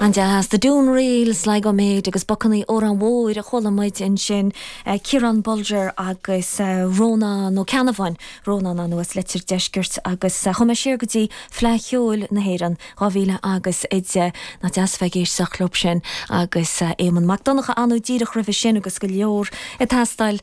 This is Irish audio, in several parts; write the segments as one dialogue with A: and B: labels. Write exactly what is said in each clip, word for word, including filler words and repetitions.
A: An-deas The Doon Reel Sligo Made agus Bucanaí Órán Mhóir a chuala muid ansin Ciarán Bolger agus Rónán Ó Ceannabháin Rónán anuas Leitir Deiscirt agus chuaigh mé siar go dtí Fleadh Cheoil na hÉireann dhá mhíle agus a deich nach deas bheith ag éisteacht leo sin agus Éamonn Mac Donncha anú díreach roimhe sin agus go leor ag teastáil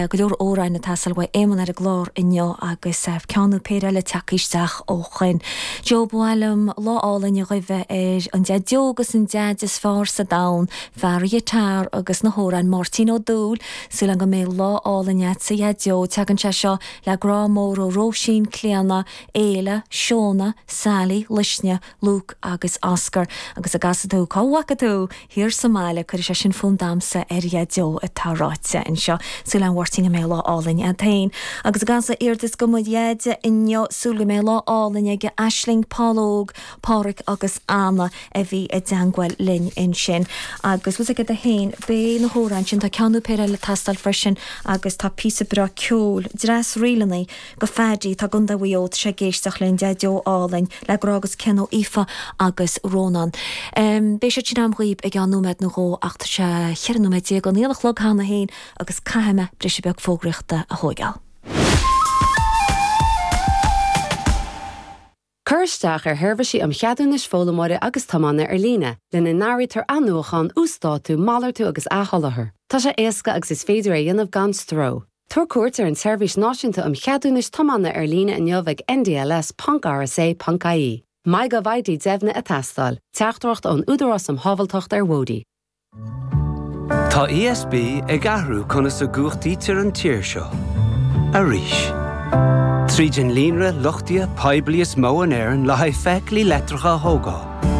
A: go leor amhráin ag teastáil uaidh Éamonn ar an gclár inniu agus ceann nó péire eile tagtha isteach ó shoin. Joe ba mhaith liom lá álainn a ghuí ar an Deaideo agus an Deaid is fearr sa domhan, fear an ghiotár agus na hamhráin Máirtín Ó Dúill, súil go mbeidh lá álainn agat a Dheaideo, tagann sé seo le grá mór ó Róisín, Clíona, Éile, Seona, Sally, Luisne, Luke agus Oscar agus a gcasfaidh tú cá bhfaca tú thiar sa mbaile cuirfidh sé sin fonn damhsa ar Dheaideo atá ráite anseo. Súil agam a Mháirtín go mbeidh lá álainn agat féin. Agus a gcasfaidh iardas go mo Dheaide inniu súil go mbeidh lá álainn aige Aisling, Paul Óg, Pádraig agus Anna a bhí i dteagmháil linn ansin. Agus bhfuil aige féin beidh na hamhráin sin tá ceann nó péire eile ag teastáil freisin agus tá píosa breá ceoil, dreas ríleanna go Phaddy tá i gContae Mhaigh Eo sé ag éisteacht linn Deaideo álainn le grá agus cion ó Aoife agus Rónán. Um, Beidh sé sin agam dhaoibh i gceann nóiméad nó dhó ach tá sé cheithre nóiméad déag don aon a chlog cheana féin agus caithfidh mé briseadh beag fógraíochta a thógáil.
B: Cur isteach ar sheirbhísí um cheadúnais foghlaimeora agus tiomána ar líne, lena n-áirítear athnuachan, uasdátú, malartú agus athsholáthar. Tá sé éasca agus is féidir é a dhéanamh gan stró. Tabhair cuairt ar an tSeirbhís Náisiúnta um Cheadúnais Tiomána ar líne inniu ag ndls.rsa.ie. MyGovID deimhnithe ag teastáil, teachtaireacht ón Údarás um Shábháilteacht ar Bhóithre.
C: Tá ESB ag athrú conas a chumhachtaítear an tír seo. Arís. Tríd an líonra luchtaithe poiblí is mó in Éirinn le haghaidh feithiclí leictreacha a thógáil.